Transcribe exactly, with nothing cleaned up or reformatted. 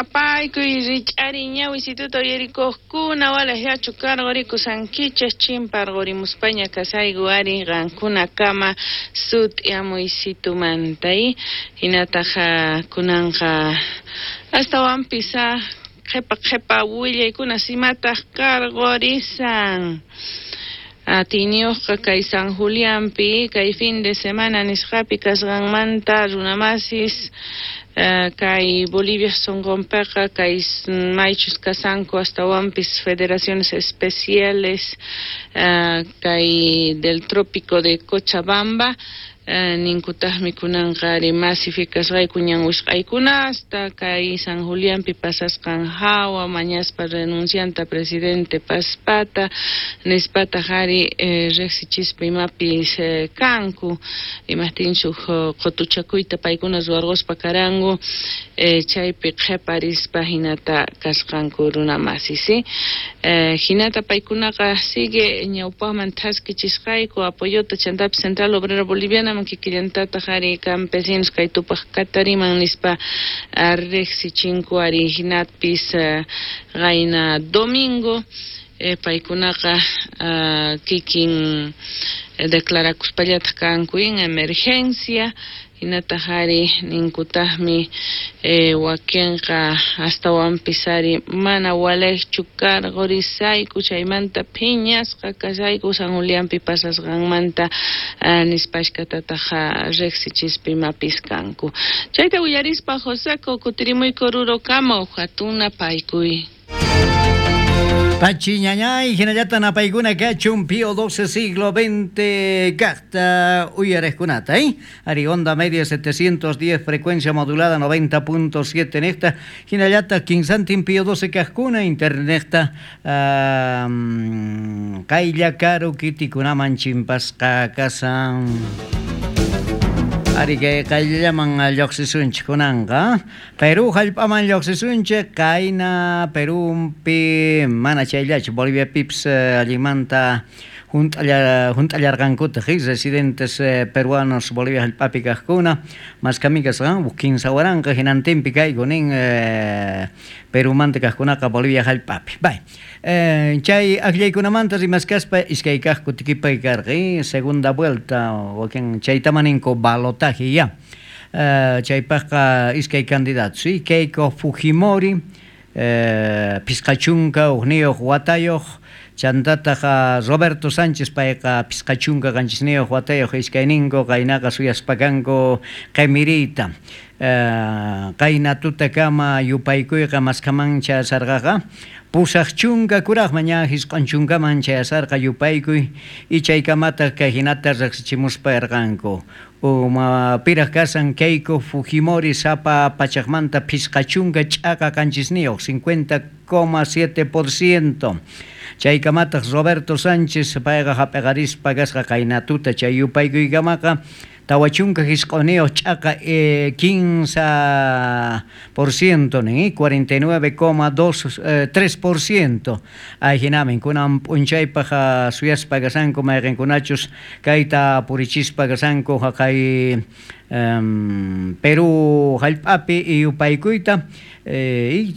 Napaykuy rich'ari ñawisituta uyarikuqkuna walaqllachu karqurikusankichis chimparqurimuspaña kasayku ari qankunakama sut'iamuysitumanta hinataq kunanqa astawanpis qhipa qhipa willaykuna simataq karqurisan. Atiyniyuqqa kay San Julianpi kay fin de semana nisqapi kasqanmanta runamasis kay Bolivia sunqunpiqa kay maychus kasanku astawanpis federaciones especiales kay del trópico de Cochabamba ninkutaqmi kunanqa ari masificasqayku ñan wisq'aykunasta kay San Julianpi pasasqan hawa mañaspa renuncianta presidente Paspata nispataq ari riqsichispa imapis kanku imaqtinchus qutuchakuyta paykuna ruwarquspa karanku chaypi qhiparispa hinata kasqanku runamasis hinata paykunaqa sigue ñawpaqman thaskichisqayku apoyota chantapis Central Obrera Boliviana kikillantataq ari campesinos kay tupaq katariman nispa riqsichinku ari hinapis qayna domingo paykunaqa kikin declarakuspallataq kanku en emergencia hinataq ari ninkutaqmi wakinqa astawanpis ari mana walaqchu karqurisayku chaymanta phiñasqa kasayku San Julianpi pasasqanmanta nispashkatataq riqsichispa imapis kanku. Chayta willarispa Joseco kutirimuyku rurukama hatun napaykuy. Pachi ñañay, hinallata napaykuna kachun Pío doce siglo veinte kaqta uyareskunata, ¿eh? Ari onda media setecientos diez frecuencia modulada noventa punto siete nesta, hinallata quinsantin Pío doce kaqkuna interneta um, kaylla karu kitikunaman chimpasqa kasan. Ari kay qayllaman lluqsisunchik kunanqa Perú hallp'aman lluqsisunchik qayna Perúpi mana chayllachu Boliviapipis allinmanta hunt'allarqankutaq residentes peruanos Bolivia hallp'api kaqkuna maskami kasqan kinsa waranqa hinantinpi kayku nin Perumanta kaqkunaqa Bolivia hallp'api. Bay. Chay akllaykunamanta rimaskaspa iskay kaq kutikipay karqa segunda vuelta wakin chaytama ninku balotaje ya. Chaypaqqa iskay candidatos Keiko Fujimori pisqachunka hukniyuq watayuq chantataq Roberto Sánchez payqa pisqachunka qanchisniyuq watayuq iskayninku qaynaqa suyaspakanku qimiriyta qayna tutakama yupaykuyqa maskaman chayasarqaqa pusaq chunka kuraqman ña hisq'un chunkaman chayasarqa yupaykuy y chaykamataq kay hinata riqsichimuspa yarqanku uma piraq kasan Keiko Fujimori sapa pachaqmanta pisqa chunka ch'aqa qanchisniyuq cincuenta coma siete por ciento chaykamataq Roberto Sánchez payqa hap'iqarispa kasqa qayna tuta chay yupaykuykamaqa tawa chunka hisq'uniyuq ch'aqa quince por ciento nin cuarenta y nueve coma dos tres por ciento ayhinamin kunan p'unchaypaq suyaspa kasanku mayqinkunachus kayta purichispa kasanku haqay Perú hallp'api yupaykuyta y